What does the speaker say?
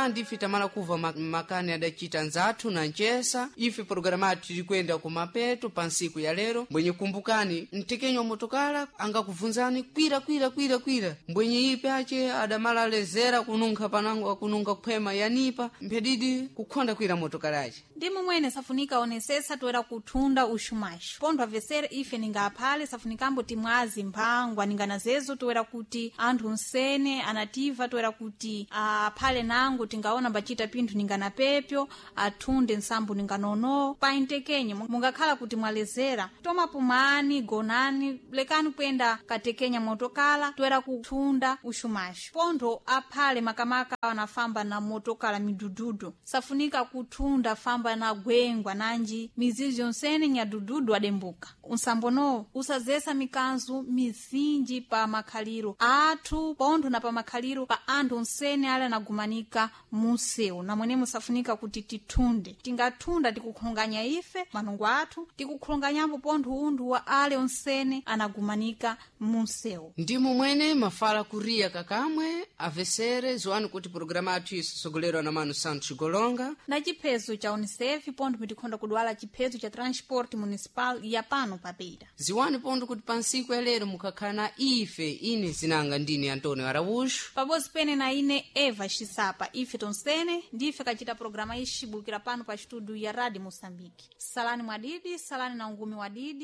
Ndife tamala kuva makani adacita nzathu na ncesa. Ife pologalamu athu tilikwenda kumapeto pa nsiku ya lero. Mbwenye kumbukani, mtekenyo motokala angakuvunzani kwira kwira kwira kwira, mbwenye ipe ace adamala alezera kununkha panango akununga khwema yanipa mphedidi kukhonda kwira motokala ace. Ndi momwene safunika onesesa toera kuthunda uxumaxo pontho avesere ife ningaphale safunikambo timwazi mphangwa ninganazezo toera kuti anthu nsene anativa toera kuti aphale nango tingaona mbacita pinthu ninganapepyo athunde nsambo ninganono paintekenye mungakhala kuti mwalezera tomapumani gonani lekani kuyenda katekenya motokala toera kuthunda uxumaxo pontho aphale makamaka anafamba na motokala midududu safunika kuthunda famba na gwengwa nanji mizizi yonsene nyadududu adembuka unsambonowo usazesa mikanzu mizinji pa makhaliro athu pontho na pa makhaliro pa anthu onsene ali anagumanika munsewu namwene musafunika kuti tithunde. Tingathunda tikukhulunganya ife manungo athu, tikukhulunganyapo pontho unthu wa ale onsene anagumanika munsewu. Ndi momwene mafala kuriya kakamwe avesere ziwani kuti pologalamu athu isosogolerwa na manu Santos Golonga na chiphezo cha UNICEF pontho mitikhonda kudwala chiphezo cha transport municipal ya pano papira. Ziwani pontho kuti pa nsiku ya lero mukhakhala na ife, ine zinanga ndine Antônio Araújo pabodzi pene na ine Eva Xisapa. Ife tonsene ndife kacita programa ixibukira pano pa estudio ya Rádio Moçambique. Salani mwadidi, salani na ungumi wadidi.